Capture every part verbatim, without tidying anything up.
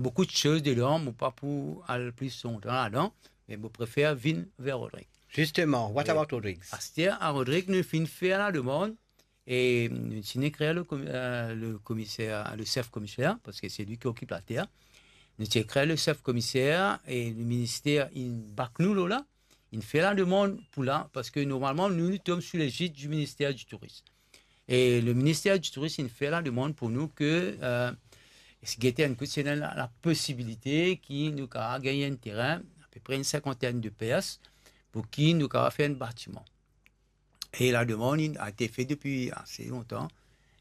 boukou de soz dedan, mo pa pou al plis lontan ladan, me mo prefer vinn ver Rodrig. Justement, what about Rodrigues? Aster a Rodrig, nou finn fer lademann, e nou ti ekrir le komi-, euh, le komiser, le sef komiser, parski se li ki okip later. Nou ti ekrir le sef komiser e le minister inn bak nou lor la, inn fer lademann pou la, parski normalman nou, nou tom sou legid du minister du Tourisme. E le minister du Tourisme inn fer lademann pou nou ke, euh, gete enn kout, si ena la, la posibilite ki nou kapav gagn enn terin, apepre enn sinkantenn de pers, pou ki nou kapav fer enn batiman. E lademann inn, a été fe depi ase lontan.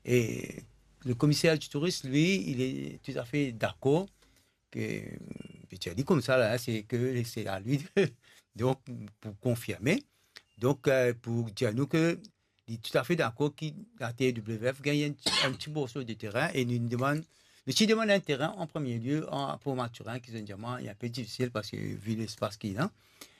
E le komiser du Tourisme, li, li est tout à fait dakor ke, pe dir li koumsa la, se ke se a li, donk, pou konfirme. Donk, euh, pou dir nou ke li tout à fait dakor ki la T W F gagn enn ti, enn ti morso de terin e nou demann, nou ti demann enn terin an premie lie a Port Mathurin, ki zot dir mwa, li enpe difisil parski vi lespas ki ena.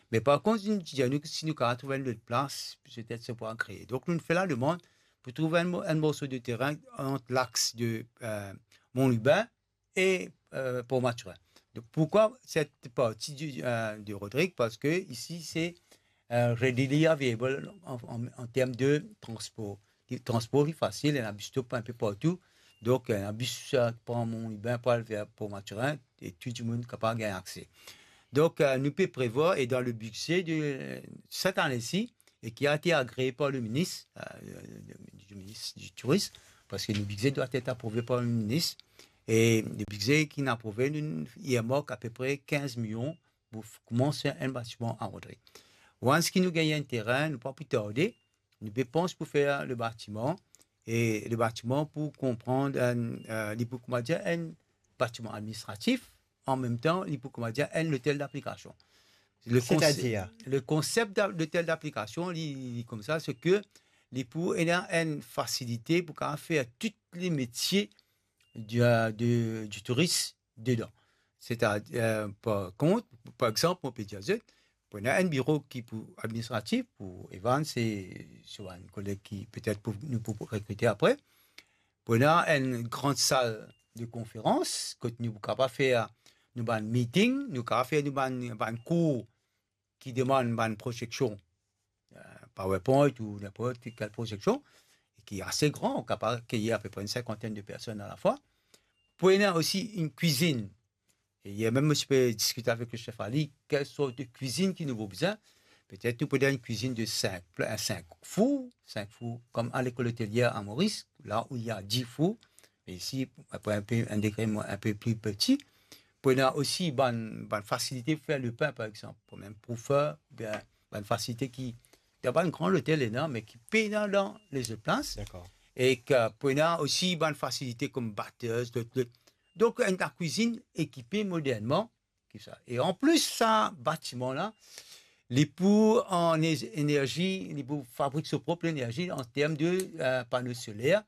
Me par kont, nou ti dir nou, si nou kapav trouv enn lot plas, petet sa pou agree. Donk, nou fer lademann pou trouv enn mo-, enn morso de terin ant lax de, euh, Mont Lubin e, euh, Port Mathurin. Donk, pourkwa set parti de, euh, de Rodrig? Parski isi, se, euh, readily available an, an, an term de transpor. Li, transpor li fasil, ena bus stop enpe partou. Donk, ena bus, euh, pran Mont Lubin pou al ver Port Mathurin, e tou dimoun kapav gagn akse. Donk, euh, nou pe prevwar, e dan le bidze de, euh, set ane si, e ki a été agréé par le ministre, euh, le, le ministre du Tourisme, parski le bidze dwa et aprouve par le ministre, e le bidze ki inn aprouve, nou earmark apepre kinz milion pou f-, koumans fer enn batiman a Rodrig. Once ki nou gagn enn terin, nou pa pou tarde, nou pe pans pou fer le batiman, e le batiman pou konpran, euh, euh, li pou, kouma dir, enn batiman administratif, an mem tan, li pou, kouma dir, enn lotel d'aplikasion. Le konse-, C'est-à-dire? Le konsep da-, lotel d'aplikasion, li, li koumsa, se ke li pou ena enn fasilite pou kapav fer tou le metie du, euh, de, du tourisme dedan. Setadir, euh, par kont, par exanp, mo pe dir zot, pou ena enn biro ki pou administratif, pou Evan, se, se enn koleg ki petet pou, nou pou rekrite apre. Pou ena enn gran sal de konferans, kot nou kapav fer nou bann meeting, nou kapav fer nou bann, bann kour ki demann bann proyeksion, euh, PowerPoint ou ninport kel proyeksion, e ki ase gran, kapav akeyir apepre enn sinkantenn de personn a la fwa. Pou ena osi enn kwizinn. E yer mem, mo ti pe diskit avek le sef Ali, kel sort de kwizinn ki nou pou bizin. Petet nou pou ena enn kwizinn de sink pla-, sink four, sink four, kom a lekol otelier a Moris, la ou il y a dix fours, me isi, apre enpe, enn degre mo-, enpe pli piti. Pou ena osi bann, bann fasilite pou fer lepin, par exanp, pou mem pou fer, bien, bann fasilite ki, dan bann gran lotel ena, me ki pena dan lezot plas. Dakor. E ki pou ena osi bann fasilite kom batez, lot, lot. Donk, enn lakwizinn ekipe modernman, ki sa. E anplis, sa batiman la, li pou an e-, enerzi, li pou fabrik so prop lenerzi an term de, euh, pano soler.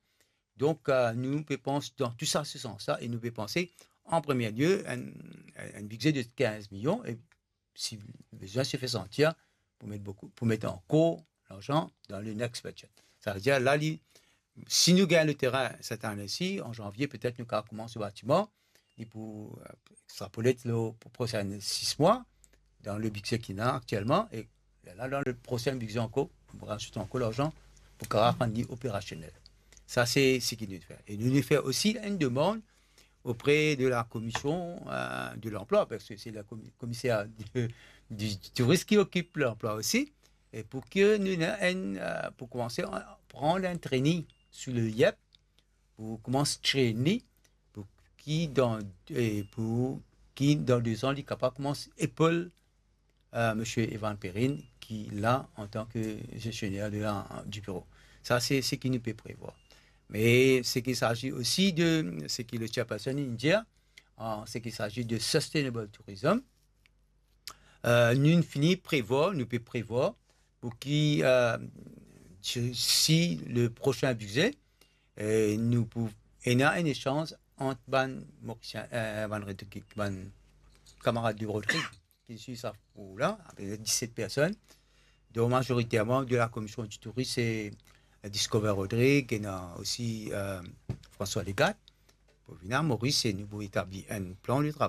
Donk, euh, nou pe pans dan tou sa, se sans la, e nou pe panse, an premie lie, enn, enn bidze de kinz milion, e si bizin se fer santir, pou met boukou, pou met ankor larzan dan le next budget. Savedir, la, li, si nou gagn le terin set ane si, an zanvie, petet nou kapav koumans le batiman, li pou, euh, extrapole lor, pou prosin sis mwa, dan le bidze ki ena aktielman, e la, dan le prosin bidze ankor, nou pou razout ankor larzan pou kapav rann li operasionel. Sa, se seki nou fer. E nou, nou fer osi enn demann auprès de la commission, euh, de l'emploi, parski se le komi-, komiser de, du, du tourisme ki okip lanplwa osi, e pou ki nou ena enn, euh, pou koumanse, euh, pran enn training sou le IEP, pou koumans train li, pou ki dan, e pou ki dan de zan, li kapav koumans epol, euh, Misie Evan Perrine, ki la antan ke gestionnaire de la, du bureau. Sa, se seki nou pe prevwar. Me seki sazi osi de, seki le chairperson inn dir, an seki sazi de sustainable tourism, euh, nou fini prevwar, nou pe prevwar pou ki, euh, si, si le prosin bidze, euh, nou pou ena enn esanz ant bann Morisien, euh, bann Rodrig, bann kamarad de Rodrig, ki swiv sa kour la, apepre diset personn, donk mazoriterman de la commission du tourisme, se Discover Rodrig, ena osi, euh, François Legat, pou vinn a Moris, e nou pou etabli enn plan de travay.